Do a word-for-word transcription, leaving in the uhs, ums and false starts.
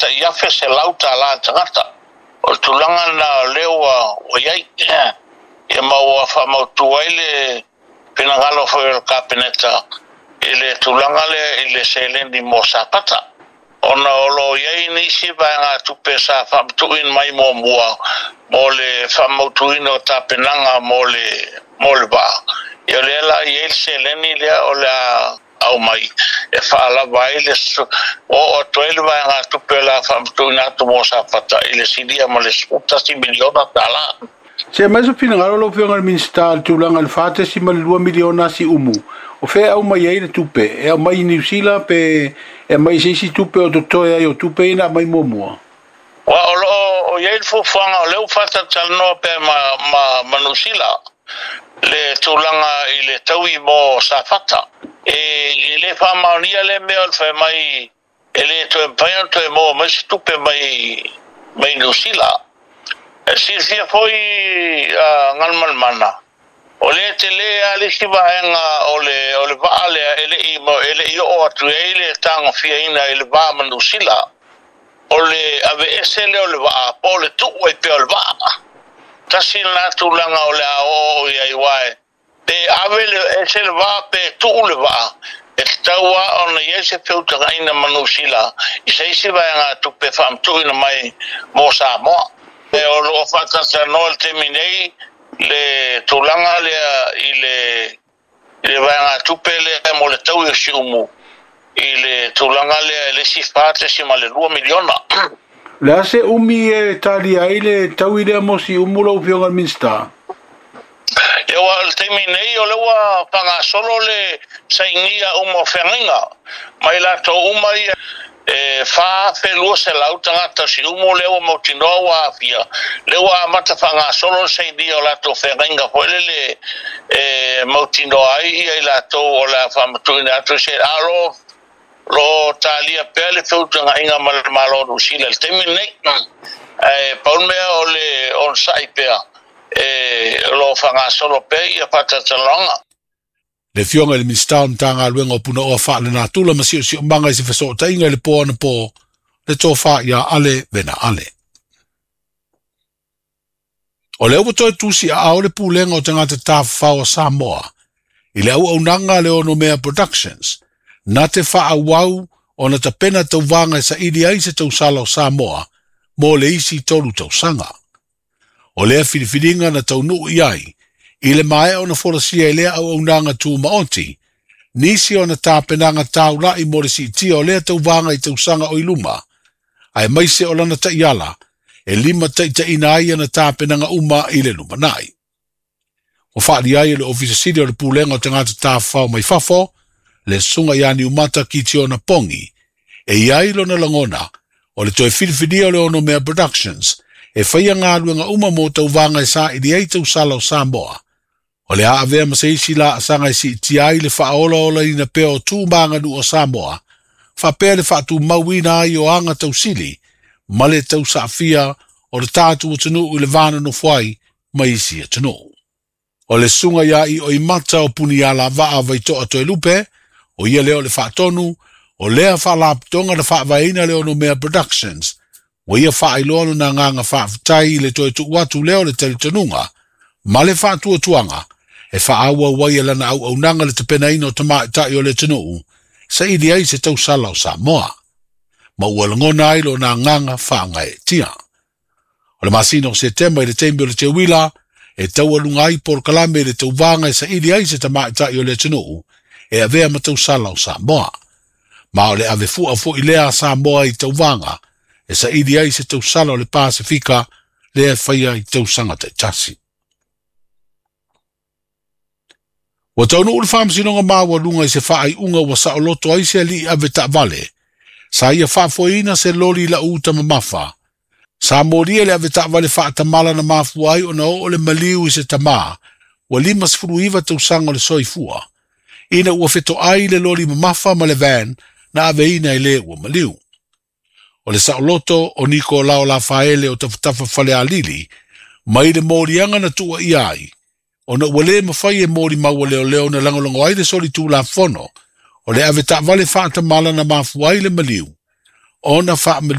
tai afe selau tālā tagata. O le tulaga lena o lea ua ua i ai. Ia ma ua faamautu ai le finagalo foi o le Kapeneta i le tulaga lea i le seleni mo Safata. Ona o lo o i ai nisi vaegatupe sa faamatuuina mai muamua mo le faamautuina o tapenaga mo le mo le vaa. Ia o lea la e i ai le seleni lea o le a aumai e faalava ai le oo atu ai le vaegatupe o le a faamatuuina atu mo Safata i le silia ma le sefulu tasi miliona tālā. Se aumai se finagalo lau Afioga i le Minisita i le tulaga i le fa tesima le lua miliona Siumu. O fea e aumai ai le tupe? E aumai i Niu Sila pe e aumai i se isi tupe o totoe ai o tupe ia na aumai muamua? Ua o lo o i ai le fuafuaga o lea ua faatalatalanoa pea ma, ma, ma Niu Sila le tulaga i le taui mo Safata. E, e le faamaonia lea mea o le fai mai e le toe mafai ona toe maua mai se tupe mai, mai Niu Sila. E silafia foi a Galumalemana, o lea tele lava le isi vaega o le, o le vaa lea e le i, e le i oo atu i ai le tagofiaina i le va ma Niu Sila. O le aveese lea o le vaa, po o le tuu ai pea o le vaa. Tasi lena tulaga o le a oo i ai, aua pe ave le ese le vaa pe tuu le vaa, e tatau lava ona i ai se feutagaiga ma Niu Sila i se isi vaegatupe faamatuuina mai mo Samoa. E o lo o faatalatalanoa i le taimi nei le tulaga lea i le i le vaegatupe lea mo le taui o Siumu i le tulaga lea i le isi fa tesima le lua miliona. O le a se umi e talia ai le taui lea mo Siumu lau Afioga i le Minisita? Ia, ua o le taimi nei o lea ua faagasolo le sainia uma o feagaiga mai latou uma ia e fa afe lua selau tagata o Siumu lea ua mautinoa ua aafia, lea ua amata faagasolo le sainia o latou feagaiga foi lele e mautinoa ai ia i latou o le a faamatuuina atu se a o lo lo talia pea le feutagaiga ma le Malo o Niu Sila i le taimi lenei. Ae pau le mea o le onosai pea e o lo o faagasolo pea ia faatalatalanoaga. Le Afioga i le Minisita o le Matagaluega o Punaoa Faalenatura ma Siosiomaga i se fesootaiga i le po anapo, le tofa ia Ale Vena Ale. O lea ua toe tusi aao le Pulega o Tagata Tafafao a Samoa i le auaunaga a le Onomea Productions na te faaauau ona tapena tauvaga e saili ai se tausala o Samoa mo le isi tolu tausaga. O lea filifiliga na taunuu i ai i le maea ona folasia i lea auaunaga tumaoti, nisi ona tapenaga taulai mo le siitia o lea tauvaga i tausaga o i luma, aemaise o lana taiala e limataitaiina ai ana tapenaga uma i le lumanai. Ua faaalia ai e le Ofisa Sili o le Pulega o Tagata Tafafao mai Fafo, le Susuga ia Niumata Kitiona Pongi, e i ai lona lagona o le toe filifilia o le Onomea Productions e faia galuega uma mo tauvaga e saili ai tausala o Samoa. O le a avea ma se isi laasaga e siitia ai le faaolaolaina pea o tu ma aganuu o Samoa, faapea le faatumauina ai o aga tausili ma le tausaafia o le tatou atunuu i le va nonofo ai ma isi atunuu. O le susuga ia Ioimata o Punialavaa Vaitoa Toelupe, o ia lea o le faatonu o lea faalapotopotoga na faavaeina le Onomea Productions, ua ia faailoa lona agaga faafetai i le toe tuu atu lea o le talitonuga ma le faatuatuaga e faaauau ai e lana auaunaga le tapenaina o tamaitai o le atunuu saili ai se tausala o Samoa, ma ua lagona ai lona agaga faagaeetia. O le masina o Setema i le taimi o le teuila e taualuga ai polokalame i le tauvaga e saili ai se tamaitai o le atunuu e avea ma tausala o Samoa. Ma o le avefua foi lea a Samoa i tauvaga e saili ai se tausala o le Pasefika lea e faia i tausaga taitasi. Ua taunuu le Faamasinoga Maualuga i se faaiuga ua saoloto ai se alii ave taavale sa ia faafoeina se loli lau uta mamafa. Sa molia le ave taavale faatamala na mafua ai ona oo le maliu i se tamā ua lima sefulu iva tausaga o le soifua, ina ua fetoai le loli mamafa ma le van na aveina e le ua maliu. O le saoloto o Nikolao Lafaele o Tafatafa Falealili mai le moliaga na tuuaia ai, ona ua le mafai e molimau a leoleo ona lagolago ai le solitulafono o le ave taavale faatamala na mafua ai le maliu, ona faamalie